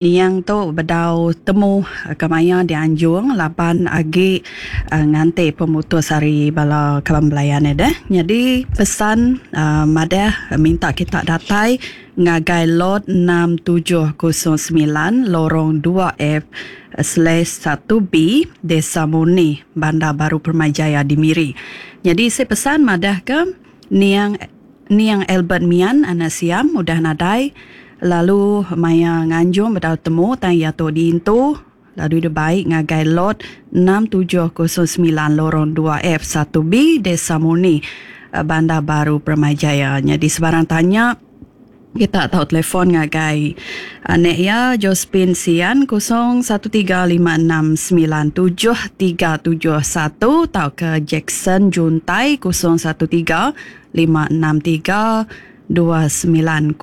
Niang tu bedau temu kemaya dianjung laban agi nganti pemutus ari bala kaban belayan iya deh. Nyadi pesan madah minta kita datai ngagai lot 6709 Lorong dua F slash satu B Desa Murni, Bandar Baru Permyjaya di Miri. Nyadi isi pesan madahka niang Niang Albert Mian anak Siam udah nadai lalu maya nganjung bedau temu tang iya tu diintu lalu dibai ngagai Lot 6709 Lorong dua F satu B Desa Murni, Bandar Baru Permyjaya. Nyadi sebarang tanya kita tau telefon ngagai anak iya Josephine Sian 013 569 7371 tauka Jackson Juntai 013 563 2902.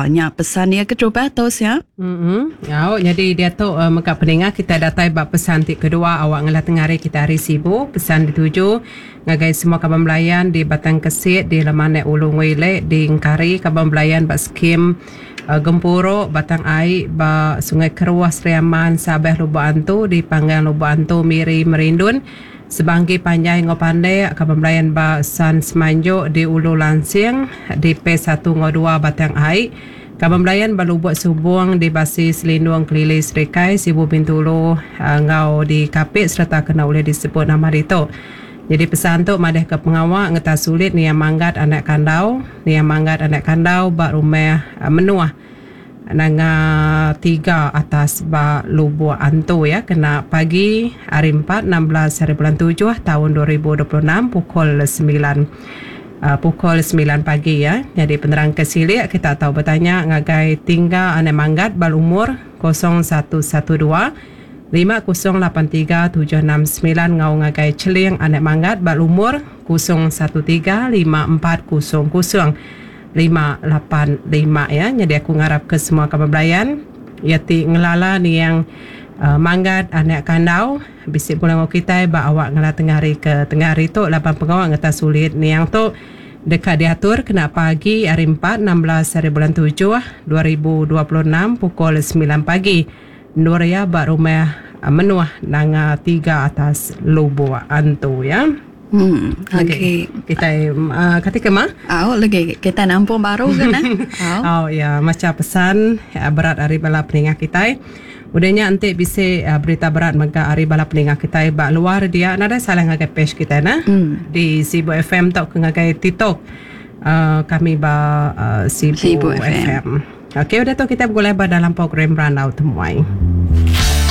Nya pesan iya keterubah tu sia. Emm. Au nyadi diatu mega peninga kitai datai ba pesan ti kedua awak ngelah tengah hari kitai hari Sibu. Pesan dituju ngagai semua kaban belayan di Batang Kesit, di Lemanak Ulu Ngui Lek, di Engkari, kaban belayan ba skim Gempuru Batang Ai ba Sungai Keruh, Sri Aman, Sabah Lubok Antu, di Panggang Lubok Antu, Miri, Merindun. Sebangki Panjai enggau Pandek, kaban belayan ba San Semanjok di Ulu Lansing, di Phase satu enggau dua Batang Ai, kaban belayan ba Lubok Subong di Basi Selindung Kelili Serikai, Sibu Bintulu enggau di Kapit sereta kena ulih disebut nama ditu. Nyadi pesan tu madahka pengawa ngetas sulit Niang Manggat anak Kandau, Niang Manggat anak Kandau ba Rumah Menuh. Nanga tiga atas ba Lubok Antu iya kena pagi hari Empat 16 hari bulan tujuh taun 2026 pukul semilan pukul semilan pagi iya. Nyadi penerang ke silik kita tau betanya ngagai Tingga Anak Manggat ba lumur 0112 5083 769 enggau ngagai Cheling Anak Manggat ba lumur 013 5400 585 iya. Nyadi aku ngarap ke semua kaban belayan iya ti ngelala niang Manggat anak Kandau bisi pulai enggau kitai ba awak ngela tengah hari ke tengah hari tu laban pengawa ngetas ulit niang tu deka diatur kena pagi hari Empat 16 hari bulan tujuh 2026 pukul semilan pagi endur iya ba rumah Menuh Nanga Tiga Atas Lubok Antu iya. Hmm, lagi kitai uh, kati ke mah? Au lagi kitai nampung baru ke nah. Au. Au ya macha pesan berat ari bala peninga kitai. Udah nya enti bisi berita berat mega ari bala peninga kitai ba luar dia nadai salah ngagai page kitai nah. Di Sibu FM tauka ngagai TikTok uh, kami ba uh, Sibu, Sibu FM. FM. Okey udah tu kitai begulai ba dalam program Randau Temuai.